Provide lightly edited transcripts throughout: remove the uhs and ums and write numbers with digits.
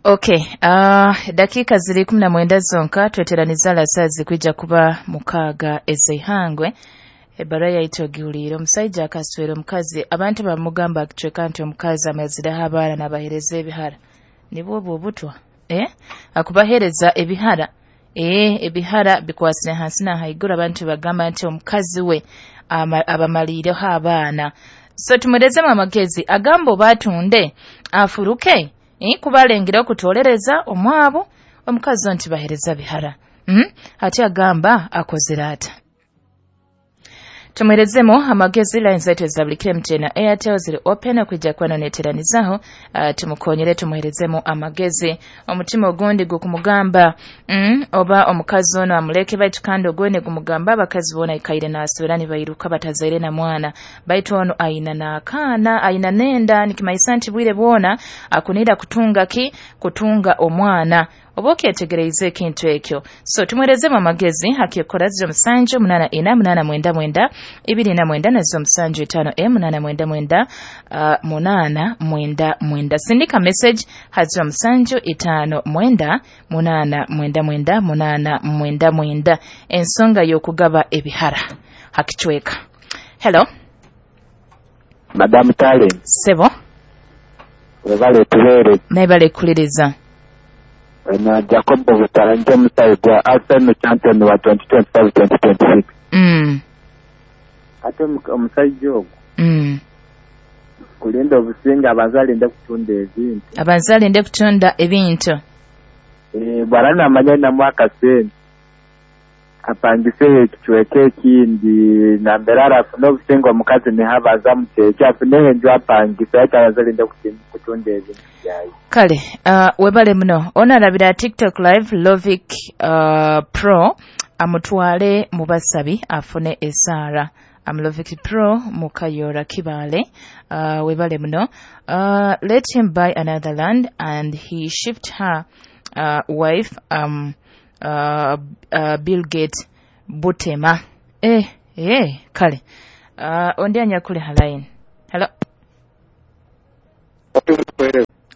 Okay, dakiika ziri 19 zonka tweteraniza alasazi kwija kuba 6 ez'eihangwe. Ebbaruha yaitu ogihuliire. Omusaija akaswera omukazi, abantu bamugamba akicweka nti omukazi amazireho abaana n'abaheereza ebihara. Nibwo obwo obutwa? Akubaheereza ebihara. Ebihara bikwasire hansi na haiguru, abantu bagamba nti omukazi we abamaliireho abaana. So tumuherezemu amagezi, agamba oba atunde afuruke, kuba alengere okutolereza omwabo, omukazi nti bahereza bihara. Ati agamba akozere ata. Tumuherezemu amagezi. Line zaitu za buli MTN na Airtel ziri open okwijja kuba neteranizaho, tumukonyere tumuherezemu amagezi. Omutima ogundi gukumugamba oba omukazi ono amuleke, baitu kandi ogundi gumugamba abakazi bona ikaire naswera nibairuka batazaire na mwana, baitu ono aina n'akaana, aina nenda, nikimaisa nti bwire bwona akunira kutunga ki kutunga omwana. Oba okyetegereize ekintu ekyo. So tumuherezemu amagezi. Hakikora 07 84 89 29 na 07 5 89 8 99. Sindika message ha 07 5 9 8 99 8 99. Ensonga y'okugaba ebihara hakichweka. Hello Madam Talen. Sebo. Webale tubeere. Naibale kuliriza. Na Jacobo Butaranje musayi gwa Arsenal champion wa 2025-2026. Ate omusajja ogwo kulinda obusinga abanza alinde kutunda ebintu. Abanza alinde kutunda ebintu. Bwana namanya na mwaka sente apangise ekicweka ekindi nambera afune obusinga omukazi nihabaza mukyekyo afune enju apangise ate abanza alinde kutunda ebintu byaye. Kale, webale muno. Ono alabira TikTok live Lovic Pro amutwale mu basabi afune esaara. Amlovic Pro mukayora Kibale. Webale muno. Let him buy another land and he shift her wife Bill Gates Butema. Kale. Ondi anyakule halaini. Hello.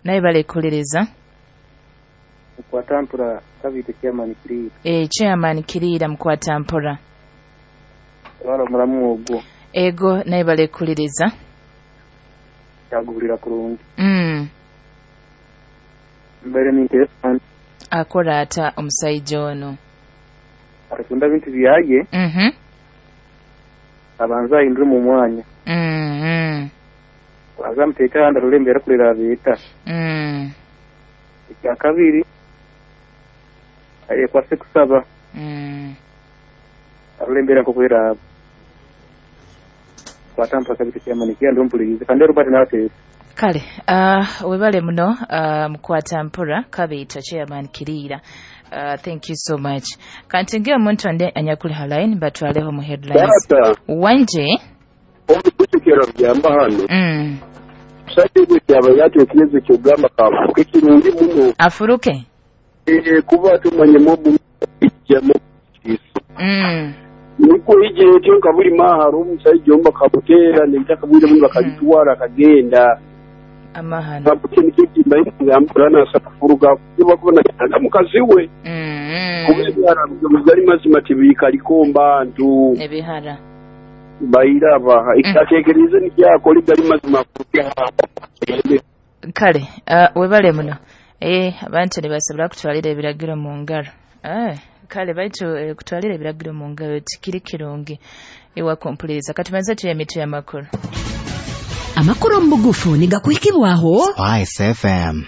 Naye bale kuliriza. Mukwatampura kabite chairman Kirira. Chairman Kirira Mukwatampura. Wala mulamu ogwo. Ego naye bale kuliriza. Yagulira kurungi. Mbere ninteesa. Akora ata omusajja ono. Atunda bintu byaye. Abanza ahindure mu mwanya. Azamuteeka ahandi arurembera kurera beeta. Ekya kabiri ayekwase kusaba. Arurembera nkokwera kwatampa kabiri kyamanikia ndompulirize kandi Robert nateesa. Kale, webale muno Mukwatampura kabiita chairman Kirira. Thank you so much. Kanti nge omuntu ande anyakuli halaini batwaleho mu headlines. Wanje omukutekera byamba hano. Musajja kyaba yatekereza kyogamba kafuke kirungi muno. Afuruke? Kuba tumanye mobu ijjamo kiso. Nuko ije etyo nkabuli maharo omusajja omba kabutera n'ebitaka bwire muno bakabitwara akagenda. Amahano. Kabuke nikyo mbaye sakufuruga kuba kubona mukazi we. Kubera gali mazima tibikaliko mbantu. Ebihara. Bairaba ikatekereza nikyakoli gali mazima kuke. Kale, webale muno. Abantu ne basobola kutwalira ebiragiro mu ngalo. Kale baitu kutwalira ebiragiro mu ngalo tikiri kirungi. Ewa kompuliriza katumaze tuye mitu y'amakuru. Amakuru mu bugufu nigakuhikibwaho Spice FM.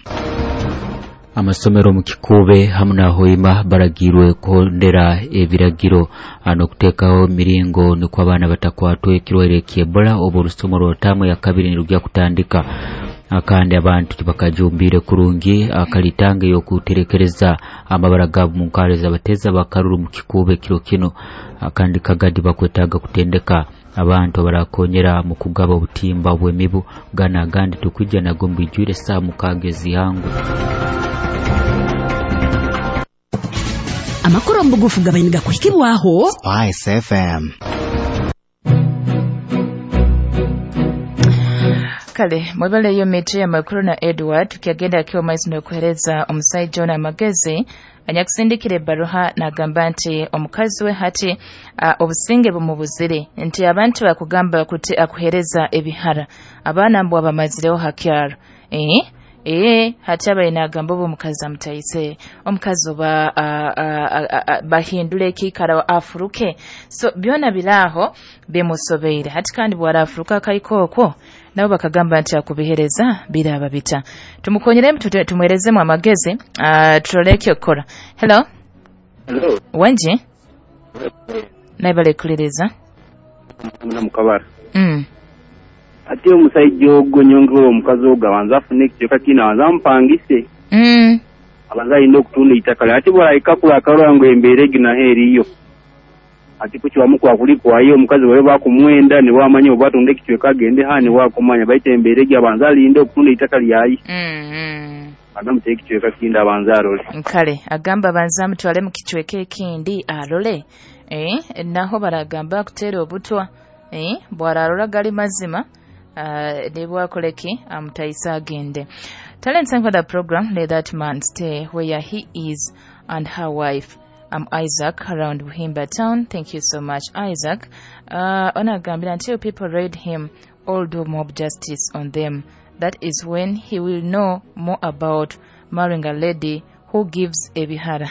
Amasomero mu Kikube hamu na Hoima baragirwe kuhondera ebiragiro n'okuteekaho emiringo nikwo abaana batakwatwa ekirwaire ky'Ebola oba orusomo rw'otamu ya kabiri nirujya kutandika. Kandi abantu tibakajumbire kurungi akalitanga y'okuterekereza amabara gaabo mu nkare z'abateza bakaruru mu Kikube kiro kino. Kandi kagadi bakwetaaga kutendeka abantu barakonyera mu kugaba obutimba bw'emibu gana agandi tukujja nago mbijwire saa 6 zihangu. Amakuru mu bugufu gabainiga kuhikibwaho Spice FM. Kale mwebaleyo miti ya makuru na Edward tukiagenda akiwa maizi n'okuhereza omusajja ono amagezi anyakusindikira ebbaruha n'agamba nti omukazi we hati obusinge bumubuzire nti abantu bakugamba kuti akuhereza ebihara abaana mbwa bamazireho hakyaro hati abaye n'agamba oba omukazi amutaise omukazi oba bahindule ekiikaro afuruke so byona biraaho bimusobeire hati kandi bwarafuruka akaiko okwo nabo bakagamba nti akubihereza biraba bita tumukonyeremu tumuherezemu amagezi turoleke okukora. Hello. Hello. Wenji naibale kuliriza mukabara. Ate omusajja ogwo nyongera omukazi ogwo abanza afune ekicweka kino abanza amupangise. Abanza alina okutunda eitaka ate bw'alahika kula ngo embeera egi naho eriyo ati kukiwamu kwakuli kwayo omukazi wawe bakumwenda ne wamanya oba atunda ekicweka agende ha ne wakumanya baita embeera egi abanza alinde okutunda eitaka lyayi. Agamba ekicweka kindi abanza arole. Kale agamba abanza amutwale mu kicweka ekindi arole. Naho baragamba kutera obutwa bwararora gali mazima nebwakoleki amutaisa agende. Talent for the program, let that man stay where he is and her wife. I'm Isaac around Buhimba town. Thank you so much, Isaac. Onagambira until people raid him or do mob justice on them. That is when he will know more about marrying a lady who gives ebihara.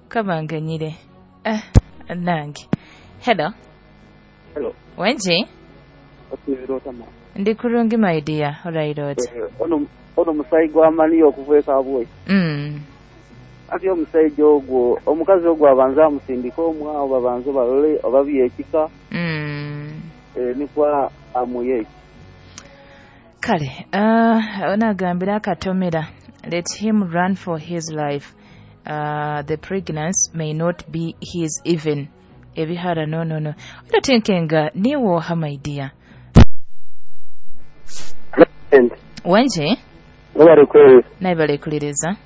Kabanganyire. Nange. Hello. Hello. Wenji? Ndi kurungi my dear. Alright. Ono musayi gwamani okuva abwe. Ati omusajja ogwo omukazi ogwo abanza amusindika omwawo babanze balole oba byekika. Nikwa amuye. Kale onagambira akatomera let him run for his life. The pregnancy may not be his even. Ebihara no. Otinkenga niwo ha my dear. Wenje? Nobare kwezi. Naibale kuliriza.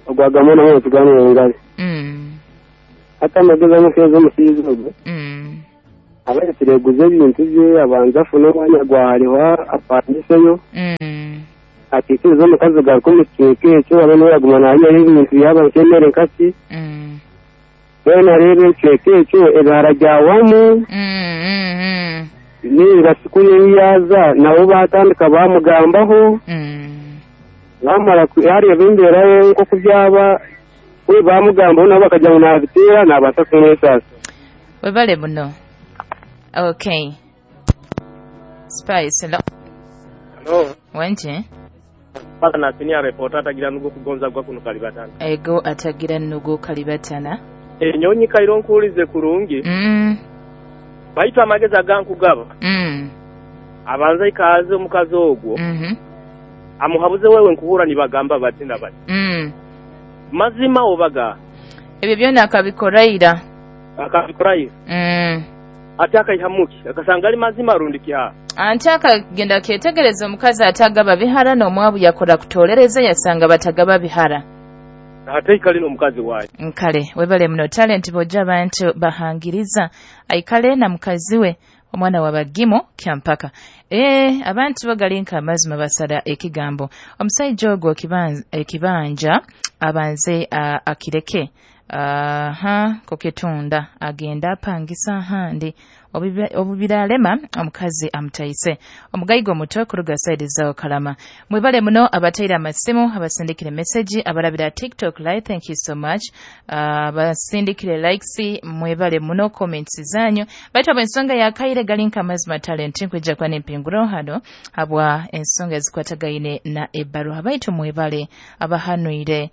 Ogwagamona mu tuganira ngale. Ata amagezi amukeza omusiizi ogwo. Abaletire guze ebintu bye abanza afune omwanya gwahariho apangiseyo. Akikiriza omukazi garuka omu kicweka ekyo abe niwe yaguma naaryayo ebintu byaba nk'emere nkaki. Weena areeba ekicweka ekyo ebihara byawamu. Ninga sikuri ei yaaza nabo batandika bamugambaho. Bamara yareeba embeera ye nk'oku byaba we bamugambaho nabo bakagira ngu naabiteera naabaasa kumwesaasa. Webale muno. Okay. Spice, hello. Hello. Wenje? Paka na senior reporter atagira nugo kugonza gwa kuno kalibatana. Ego atagira nugo kalibatana. Nyonyi kairo nkuulize kurungi. Baita amagezi agankugaba. Abanza ikaze omukazi ogwo. Amuhabuze wewe nkuhura nibagamba bati na bati. Mazima obaga. Ebyo byona akabikoraira. Akabikoraira. Ate akaihamuki akasanga ali mazima rundi kiha. Anti akagenda ketegereza omukazi atagaba bihara n'omwabu yakora kutolereza yasanga batagaba bihara. Ate ikali n'omukazi waye. Nkale webale muno talent bojja abantu bahangiriza aikale na mukazi we omwana wa bagimo kyampaka. Abantu bagalinka amazima basala ekigambo. Omusajja ogwo ekibanja abanze akireke. Koketunda agenda apangisa ahandi obubiralema omukazi amutaise omugayigo muto kuruga side zao kalama. Mwebale muno abateira amasimu abasindikire message abalabira TikTok live, thank you so much. Abasindikire likes mwebale muno comments zanyu baitu ensonga ya kaire galinka amazima talent nkwijja kwa nempinguro hano habwa ensonga ezikwatagaine na ebbaruha baitu mwebale abahanuire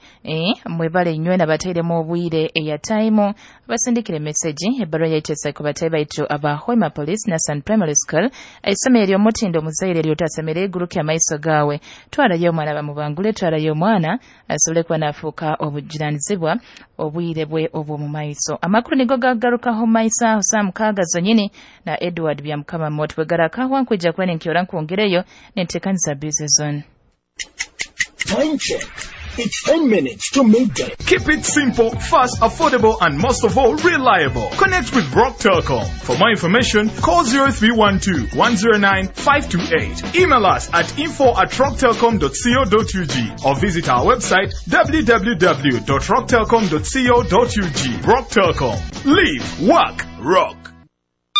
mwebale nywe nabateiremu obwire eya time abasindikire message ebbaruha yaitesa ku batayi baitu aba Hoima Police na San Primary School isomero ly'omutindo muzaire lyotasemere eguruke amaiso gawe twarayo omwana bamubangule twarayo omwana asobole kuba nafuuka obujunaanizibwa obwire bwe obw'omu maiso. Amakuru nigo gagarukaho maiso aho saa mukaaga zonyini na Edward Byamukama Mot bwegarakaho nkwijja kuba nenkyora nkwongereyo nenteekaniza busy zone. Time check. It's 10 minutes to midday. Keep it simple, fast, affordable, and most of all, reliable. Connect with Rock Telcom. For more information, call 0312 109 528. Email us at info@rocktelcom.co.ug or visit our website www.rocktelcom.co.ug. Rock Telcom. Live, work, rock.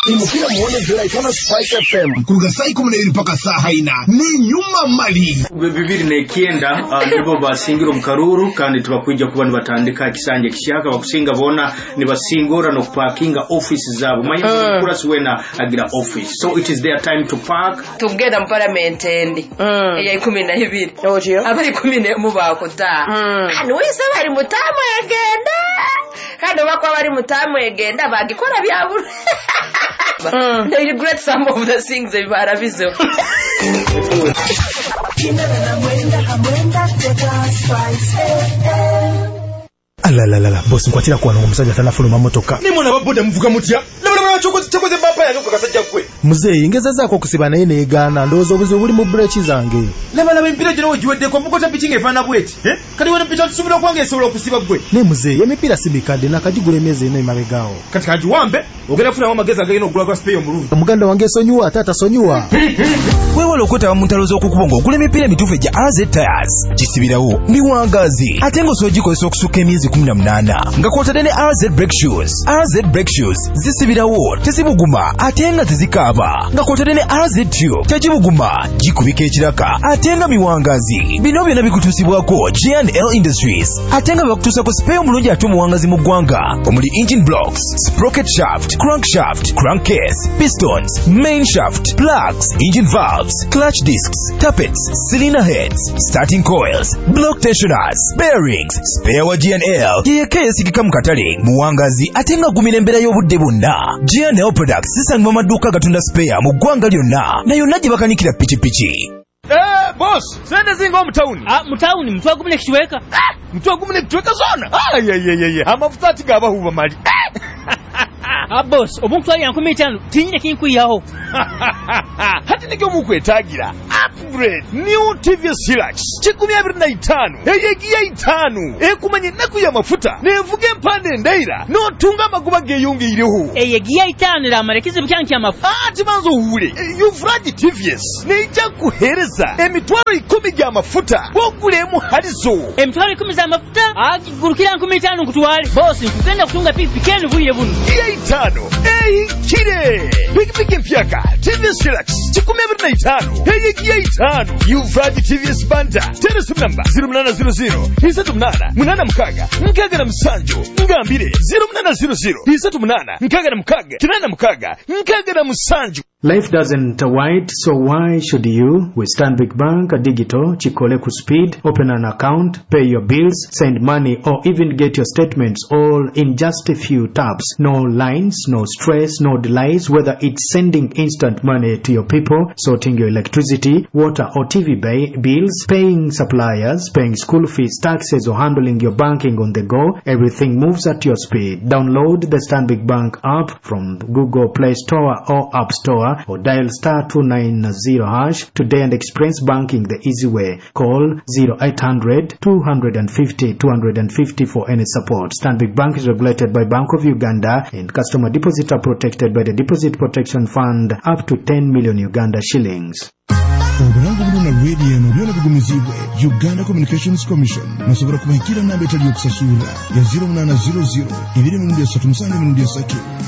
Imukira muone Juraikana Spice FM kuruga saa 12 mpaka saa 4 ni nyuma mali 2009 nibo basingira omukaruru kandi tubakwija kuba nibatandika kisanje kishaka bakusinga bona nibasingora no parkinga office zabo manya kurasi wena agira office, so it is their time to park. Tugenda mu parliament endi eya 12 abali 11 bakuta wese bali mutamu egenda kandi bakwa bali mutamu egenda bagikora byaburu. They regret some of the things they barabizo. Alalalala boss nkwatira kwa omusajja tanafuluma motoka. Nimona baboda muvuga mutya. Laba chokoze bapa yange kasajja gwe. Muzeeyi ngezezaako okusiba naye neegaana ndowooza obuzibu buli mu breki zange. Laba emipiira gino wegiweddeko mukota piki ng'efaanana bweti. Kati wano piki tusobola okwange esobola okusiba gwe. Ne muzeeyi emipiira si mikadde nakagigula emyezi ena emabegaawo. Kati kagiwambe ogenda kufunamu amagezi agagenda okugula gwa sipeeyo omulungi. Omuganda wange esonyiwa ate atasonyiwa. Weewale okwetaba mu ntalo z'okukubo ng'ogula emipiira emituufu egya AZ Tires. Gisibirawo miwangaazi ate ng'osobola ogikozesa okusukka emyezi 18 nga kw'otadde ne AZ Brake Shoes. AZ Brake Shoes zisibirawo tezibuguma ate nga tezikaaba nga kw'otadde ne AZ Tube tegibuguma gikubika ekiraka ate nga miwangazi. Bino byonna bikutuusibwako G&L Industries ate nga bakutuusako sipeeyo omulungi ate omuwangazi mu ggwanga omuli engine blocks, sprocket shaft, crankshaft, crankcase, pistons, main shaft, plugs, engine valves, clutch discs, tappets, cylinder heads, starting coils, block tensioners, bearings. Spare wa G&L yeyeka eyesigika mu katale muwangazi ate nga agumira embeera y'obudde bwonna. G&L products zisangibwa mu maduuka agatunda spare mu ggwanga lyonna na yonna gye bakanikira pikipiki. Boss, sente zinga omutawuni. Mutawuni mutwe gumune kichweka. Mutwe gumune kichweka zona. Ayayayaya, amafuta ati gabahuba mali. Boss, omuntu ali 15 tinyine kinkuyaho. Hati nikyo mukwetagira. Upgrade new TVS Hilux 25 eyegiya 5 ekumanye naku ya mafuta nevuga empande endeira notunga amagoba geyongeireho. Eyegiya 5 ramara ekizibu kyange ky'amafuta. Ati banzo owule Yuvraj TVS neija kuhereza emitwalo 10 gy'amafuta bwogulemu halizo emitwalo 10 z'amafuta agigurukira 15 nkutwale. Boss, nkugenda kutunga pikipiki enu bwire buno. Giya 5 ehikire pikipiki mpyaka TVS Hilux 25 eyegiya 5 Yuvraj TVS Banda teresi namba 0800 38 86 67 ngambire 0800 38 66 86 67. Life doesn't wait, so why should you? With Stanbic Bank Digital, Chikole Speed, open an account, pay your bills, send money, or even get your statements all in just a few taps. No lines, no stress, no delays, whether it's sending instant money to your people, sorting your electricity, water or TV bills, paying suppliers, paying school fees, taxes, or handling your banking on the go, everything moves at your speed. Download the Stanbic Bank app from Google Play Store or App Store or dial star 290# today and experience banking the easy way. Call 0800 250 250 for any support. Stanbic Bank is regulated by Bank of Uganda and customer deposits are protected by the Deposit Protection Fund up to 10 million Uganda shillings. Obulango buno na radio eno byona bigumizibwe Uganda Communications Commission. Musobola kubahikira namba etali yokusasula ya 0800 237 3.